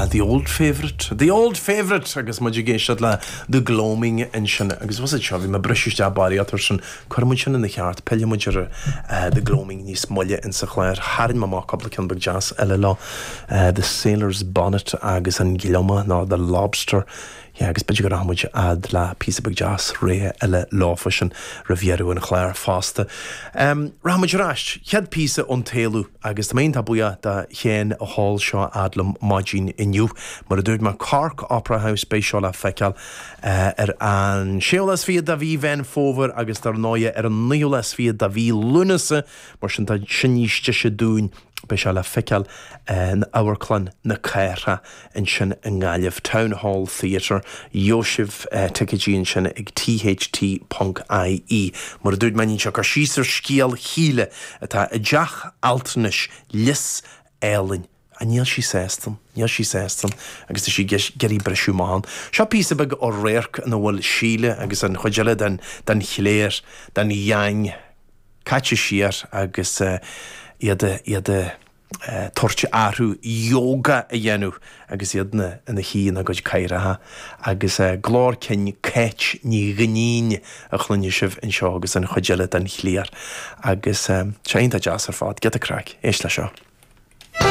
The old favourite, the old favourite! Agus muid ag éisteacht le The Gloaming ansin. Agus was it seo, bhí mé ag briseadh isteach barraíocht air sin. Cuirfidh muid sin ina cheart, pillfidh muid ar The Gloaming níos moille insa chlár. Tharraing mé amach cúpla ceann beag deas eile leo, The Sailor's Bonnet agus An Gliomach nó The Lobster. Yeah, agus b'fhéidir go rachaidh muid fhad le píosa beag deas réidh eile leofa sin roimh dheireadh an chláir fosta. Um, rachaidh muid ar ais, chéad píosa ón Taolu, agus tá mé iontach buíoch do Shéan a sheol seo fhad liom maidin inniu. Mar a dúirt mé, Cork Opera House, beidh seo le feiceáil ar an séú lá is fichead de mhí Mheán Fómhair agus dar ndóighe ar an naoú lá is fichead de mhí Lúnasa, mar sin tá sin níos deise dúinn. Beidh sé le feiceáil in Amharclann na Cathrach ansin i nGaillimh, Town Hall Theatre. Gheobhaidh sibh ticéidí ansin ag tht.ie. Mar a dúirt mé, déanann sé cur síos ar scéal Shíle atá i dteach altranais Lios Álainn. Ach níl sí sásta, níl sí sásta agus tá sí ag iarraidh briseadh amach ann. Seo píosa beag ó radharc ina bhfuil Síle agus an chuid eile den chléir, den gheaing, caite siar agus iad iad ag tabhairt orthu yoga a dhéanamh agus iad ina shuí ina gcuid cathaoireacha agus glór cinn Cáit Ní Dhuinnín a chluinfidh sibh anseo agus an chuid eile den chliar agus sé iontach deas ar fad, giota craic, éist le seo.